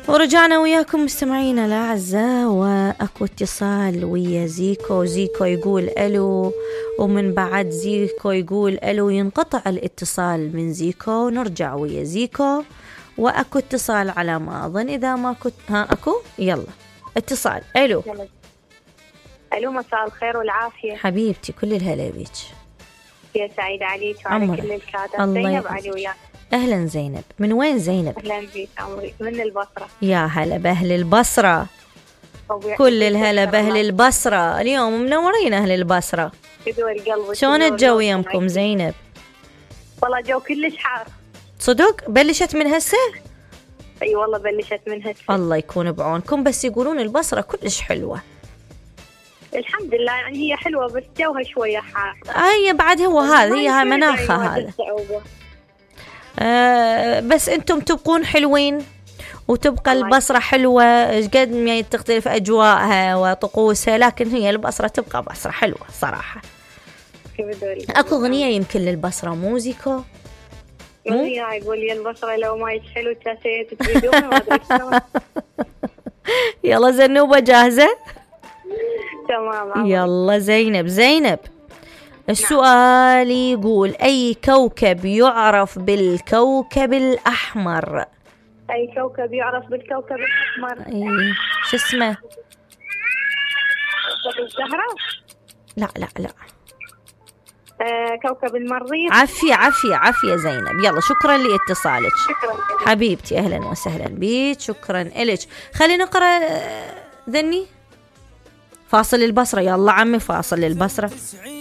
ورجعنا وياكم مستمعينا الأعزاء، وأكو اتصال ويا زيكو. زيكو يقول ألو، ومن بعد زيكو يقول ألو ينقطع الاتصال من زيكو، ونرجع ويا زيكو. وأكو اتصال على ما أظن، إذا ما كنت أكو يلا اتصال. ألو. ألو، مساء الخير والعافية حبيبتي، كل الهلا بيك. يا سعيد عليك وعلى كل الكادر. زينب علي وياك. أهلا زينب، من وين زينب؟ أهلا بك عمري، من البصرة. يا هلا بأهل البصرة، كل الهلا بأهل البصرة. اليوم منورين أهل البصرة. شلون الجو يمكم زينب؟ والله جو كلش حار. صدق؟ بلشت من هسه؟ اي والله بلشت من هسه. الله يكون بعونكم، بس يقولون البصرة كلش حلوة. الحمد لله، يعني هي حلوة بس جوها شوية حار. هي بعد هو هذا، هي مناخها هذا. بس انتم تبقون حلوين، وتبقى البصرة حلوة قد ما تختلف أجواءها وطقوسها، لكن هي البصرة تبقى بصرة حلوة صراحة. أكو أغنية يمكن للبصرة، موزيكو يقول لي البصرة لو ما يتحلو تاسيت تريدون ما أدري شلون. يلا زنوبة جاهزة؟ تمام. يلا زينب. السؤال يقول أي كوكب يعرف بالكوكب الأحمر؟ أي كوكب يعرف بالكوكب الأحمر؟ أي شو اسمه؟ الزهرة؟ لا. كوكب المريخ. عافية زينب. يلا شكرا لاتصالك. شكرا حبيبتي، أهلا وسهلا بيك، شكرا إلك. خلينا نقرأ ذني فاصل البصرة. يلا عمي، فاصل البصرة.